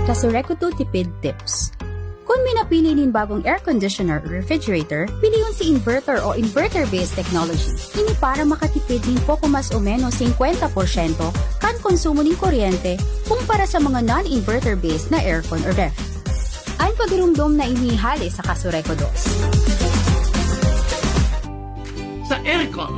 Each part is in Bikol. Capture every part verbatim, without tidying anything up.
Kasureku two Tipid Tips. Kun minapili nin bagong air conditioner o refrigerator, pilion si inverter o inverter-based technology. Ini para makatipid nin poko mas o menos singkwenta porsyento kan konsumo nin kuryente kumpara sa mga non-inverter-based na aircon o ref. An pagirumdom na ini hale sa Kasureku dos. Sa aircon,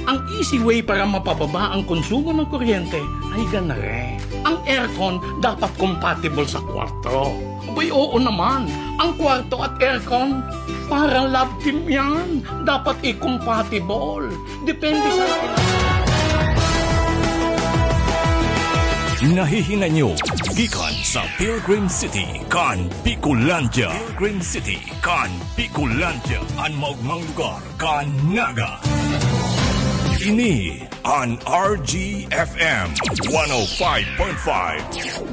ang easy way para mapababa ang konsumo ng kuryente ay ganare. Ang aircon dapat compatible sa kwarto. Abay, oo naman. Ang kwarto at aircon, parang love team yan. Dapat i-compatible. Depende sa... Nahihinay nyo gikan sa Pilgrim City kan Bicolandia. Pilgrim City kan Bicolandia, an maogmang lugar kan Naga. Ini an R G F M one oh five point five,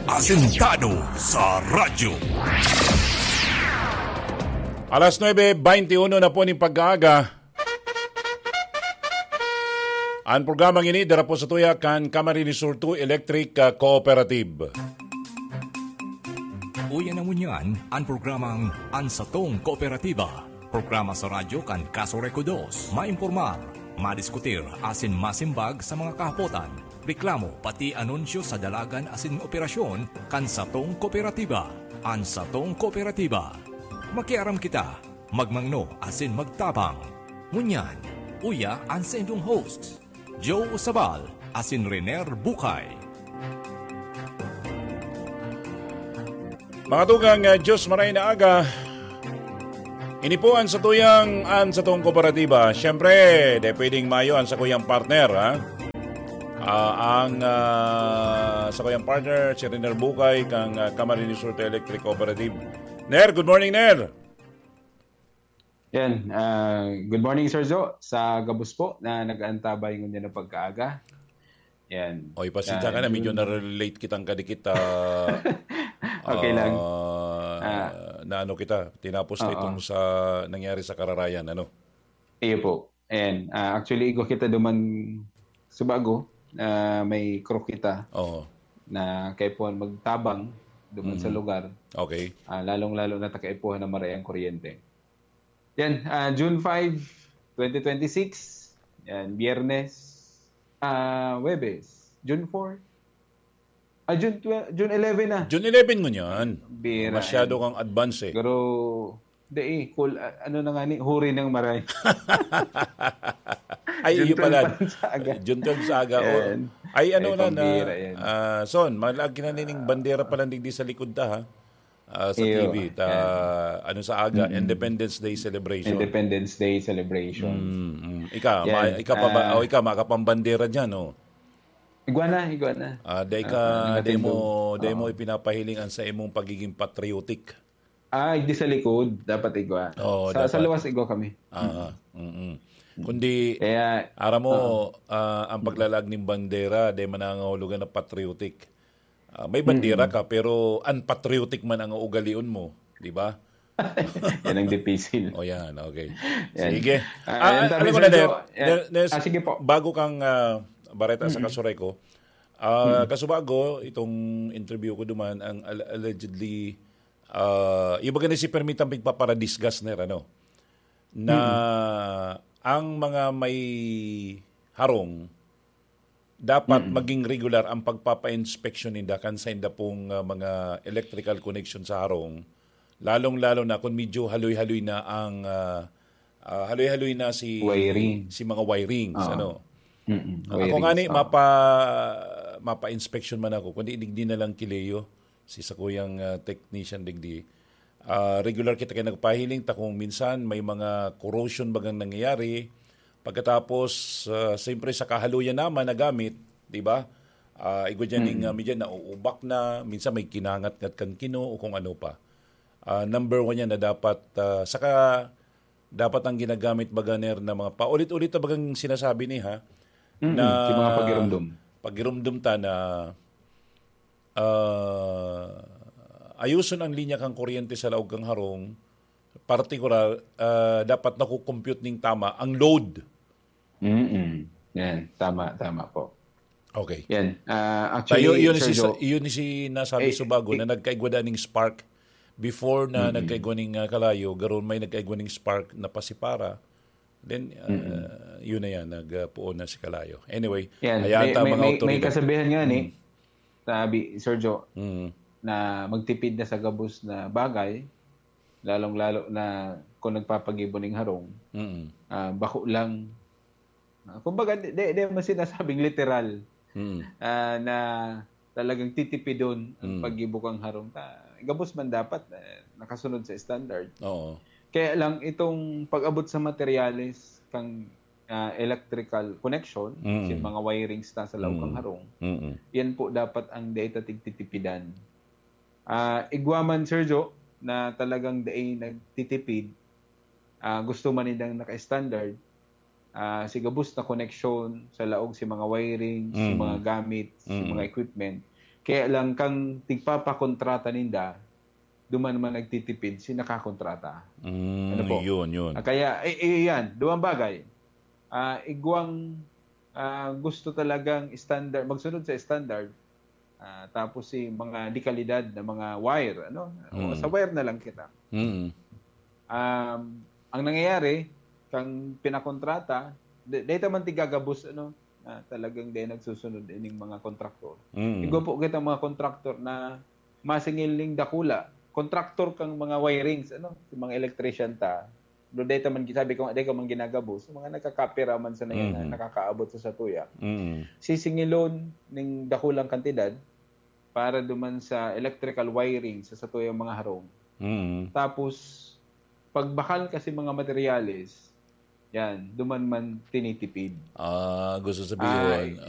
asentado sa radyo. Alas nuebe beintiuno na po nin pag-aaga. An programang ini dara po sa tuya kan Camarines Sur two Electric, ah, Cooperative. Uya na ngunyan an programang An Satong Kooperatiba. Programa sa radyo kan Kasureku dos. Maimpormar, madiskutir, asin masimbag sa mga kahapotan, reklamo, pati anunsyo sa dalagan asin operasyon kan satong kooperatiba. An Satong Kooperatiba. Makiaram kita, magmangno asin magtabang. Ngunyan, uya an saindong hosts, Joe Sabal asin Rener Bukay. Mga tugang, ah, Diyos maray na aga. Ini po an satuyang, an satong kooperatiba. Siyempre, di pwedeng mayo an sakuyang partner, ha? Ah, ang, ah, sakuyang partner, si Rener Bukay, kang, ah, Camarines Sur Electric Cooperative. Ner, good morning, Ner. Yan. Ah, good morning, Sir Zo. Sa gabos po na nag-aantabay ngunyan ng pagkaaga. Yan. Oy, pasensya Sa ka na, medyo June na-relate kitang kadikit, ah, Okay lang. ah, Ah. na ano kita, tinapos na Oo. itong sa nangyari sa Kararayan, ano? Iyo po. Ayan. Ah, actually, igwa kita duman sa bago, ah, may crew kita Oo. na kaipuhan magtabang duman sa Mm. lugar. Okay. Ah, lalong-lalo na ta kaipuhan na maray ang kuryente. Yan, ah, June five, twenty twenty-six. Yan, Biyernes. Ah, Huwebes. June four. Ah, June twelve, June eleven na. June eleven ngunyan. Bira, Masyado eh. kang advance, eh. Pero, di, eh, cool, ah, ano na nga ni, huri ng maray. Ay, June iyo pala. twelve pa sa aga. June twelve sa aga, oh. Yan. Ay, ano Ay, na, na, pambira yan. ah, Son, malaag kinanining bandera pala digdi sa likod ta, ha? Ah, sa Iyo, T V, ta, yan. ano sa aga, Mm-mm. Independence Day celebration. Independence Day celebration. Mm, mm. Ika, Yan, ma-, ika pa ba, ah, o ika, makapambandera dyan, oh? Igwa na, igwa na. Ah, dai ka, Ah, dai mo, nagtindog. dai mo Oo. ipinapahiling an sa imong pagiging patriotic. Ah, di sa likod, dapat igwa. Oo, Sa, sa dapat. luwas igwa kami. Ah, Mm. mm-mm. Kundi, Kaya, aram mo, oo. ah, ang paglalaag ning bandera, dai man nangangahulugan na patriotic. Ah, may bandera Mm. ka, pero unpatriotic man ang ugalion mo, di ba? Yan ang dipisil. O yan, okay. Yan. Sige. Ah, Ah, yan, ah, sabi alam mo sa na, Ner, Joe, yan. Ner, Ner, Ah, sige po. bago kang, ah, bareta sa Mm-mm. Kasureku, ah, Mm. kasubago, itong interview ko duman, ang al-, allegedly, ah, iba gani si permitang pigpaparadisgas, Ner, ano? Na Mm. ang mga may harong, dapat Mm. maging regular ang pagpapa-inspeksyon ninda kan sainda pong, ah, mga electrical connection sa harong, lalong-lalo na kung medyo haloy-haloy na ang, ah, ah, haloy-haloy na si Wiring. si mga wirings, Oo. ano. Mm-mm. Ah, ako Wirings, ngani, oo. mapa-, mapa-inspection man ako, kundi digdi na lang ki Leo, si sakuyang, ah, technician digdi. Ah, regular kita kay nagpahiling ta kung minsan may mga corrosion bagang nangyayari. Pagkatapos, ah, siyempre sa kahaluyan naman na gamit, di ba? Ah, igwa dyan yung, Mm. ah, medyo nauubak na, minsan may kinangat-ngat kan kino o kung ano pa. Ah, number one yan na dapat, ah, saka dapat ang ginagamit baga, Ner, na mga paulit-ulit na bagang sinasabi ni, ha, Mm, na si mga pagirumdum. pagirumdum ta na, ah, ayuson ang linya kang kuryente sa laog kang harong, partikular, ah, dapat nakukompute ning tama ang load. Mm-mm. Yan, tama, tama po. Okay. Yan. Ah, Tayo, actually, yun si, Sir Joe, yun si nasabi eh, subago eh, na nagkaigwa daning spark before na Mm-mm. nagkaigwa ning ah, kalayo, garon may nagkaigwa ning spark na pasipara. Then, ah, Mm-mm. yun na yan, nagpuon na si kalayo. Anyway, yan. hayaan May, ta may, mga may, may otoridad. kasabihan nga ni, Mm. sabi, Sir Joe, Mm. na magtipid na sa gabos na bagay, lalong-lalo na kung nagpapagibo ning harong, Mm. ah, bako lang. Ah, kumbaga, di, di, di man sinasabing literal Mm. ah, na talagang titipidon ang Mm. paggibo kan harong. Ta, gabos man dapat eh, nakasunod sa standard. Oo. Kaya lang itong pag-abot sa materyales kang ah, electrical connection, Mm. sa mga wirings na sa laog kan Mm. harong, Mm. yan po dapat ang data tigtitipidan. Ah, igwa man, Sir Joe, na talagang dai nagtitipid, ah, gusto man nindang naka-standard, ah, si gabos na koneksyon sa laog si mga wiring, si Mm. mga gamit, si Mm. mga equipment. Kaya lang kang tigpapakontrata ninda, duman man nagtitipid si nakakontrata. Mm, Ano po? Yun, yun. Ah, kaya, eh, eh, yan, duwang bagay. Ah, igwang ah, gusto talagang standard, magsunod sa standard, ah, tapos si mga dekalidad na mga wire, ano? O, Mm. sa wire na lang kita. Mm. Um, ang nangyayari, kang pinakontrata, di, di ta man tigagabos, ano, na talagang di nagsusunod ining mga kontraktor. Mm. Igwa po kita mga kontraktor na masingil ning dakula. Kontraktor kang mga wirings, ano, si mga electrician ta. Do data man sabi ko, data man ginagabos, mga nagkakapira man sa na yan na Mhm. nakakaabot sa satuya. Mm. Sisingilon ning dakulang kantidad para duman sa electrical wiring sa satuyang mga harong. Mm. Tapos, pagbakal kasi mga materyales, yan, duman man tinitipid. Ah, gusto sabihin, Ah,